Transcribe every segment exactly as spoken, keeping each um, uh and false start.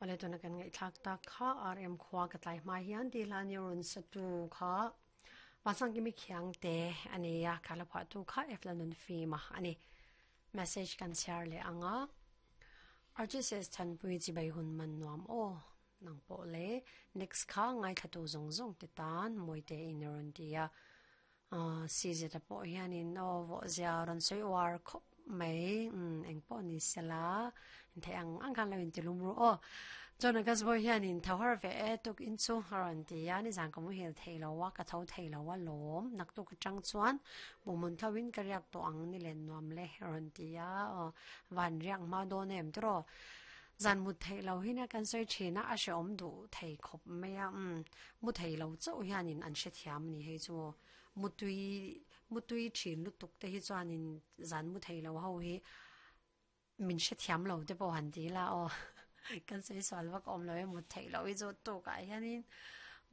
Wale tuna kan ngai thlak tak kha R M khwa ka tlai hma hian ti hla ni run satu kha Masang kimi khiang te ania khala pha tu kha F la nun fi ma ani message kan share le anga R J S than pui chi bai hun man nuam o nang po le next kha ngai thatu zong zong te tan moite in ron tia a si je ta po hian in o vo zia ron soi war khop mai eng po ni sela the ang ang kan lo in tilum ru o chon ka zbo hian in thawar ve e tuk in chu haran ti ya ni jang ka mu hil theilo wa ka tho theilo wa lom nak tu ka chang chuan bumun thawin ka riak to ang ni len nuam le ron ti ya o van riak ma do nem tro zan mu theilo hi na kan soi thina a she om du thei khop me ya um mu theilo chau hian in an she thiam ni hei chu mu tui mu tui thin lu tuk te hi chuan in zan mu theilo ho hi min she thiam lo te po han ti la o kan sei swal wak om lo mu thei lo i zo to ka hianin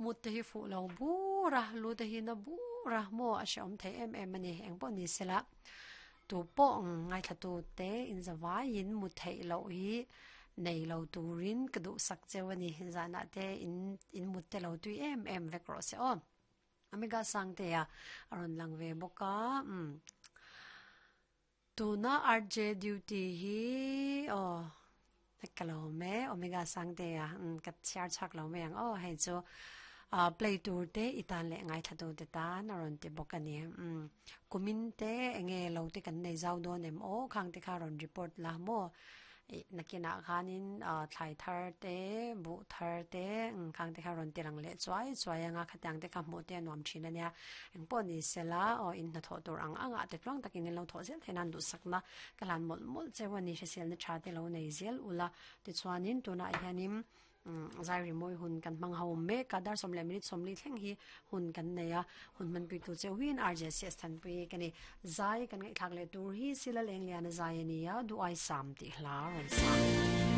mu te hi fu lo bu ra lu te hi na bu ra mo a she om thei em em ani eng po ni sela tu po ngai tha tu te in zawa in mu thei lo hi nei lo turin ka du sak chewani zana te in in mu te lo tui em em vek ro se o amiga sang te ya aron langwe boka um tuna R J duty hi o nakalome omega sang te ya kat char chak lo me ang o hei chu a play tour te itan le ngai thatu te ta na ron te bokani um kumin te enge lo te kan nei zau don em o khang te kha ron report la mo nakina khanin thlai thar te bu thar te khang te kha ron te lang le chuai chuai anga khatang te kha mu te nuam thin ania eng pawh ni sela o in na tho tur ang anga te tluang takin lo tho zel thenan du sakna kalan mol mol chewani hrisel na tha te lo nei zel ula ti chuanin tuna hianin zai ri moi hun kan mang ho me kadar somle minute somli thleng hi hun kan neya hun man pi tu che win R J S than pi kani zai kan ngai thak le tur hi sila leng lian zai ania du ai sam ti hla ron sa.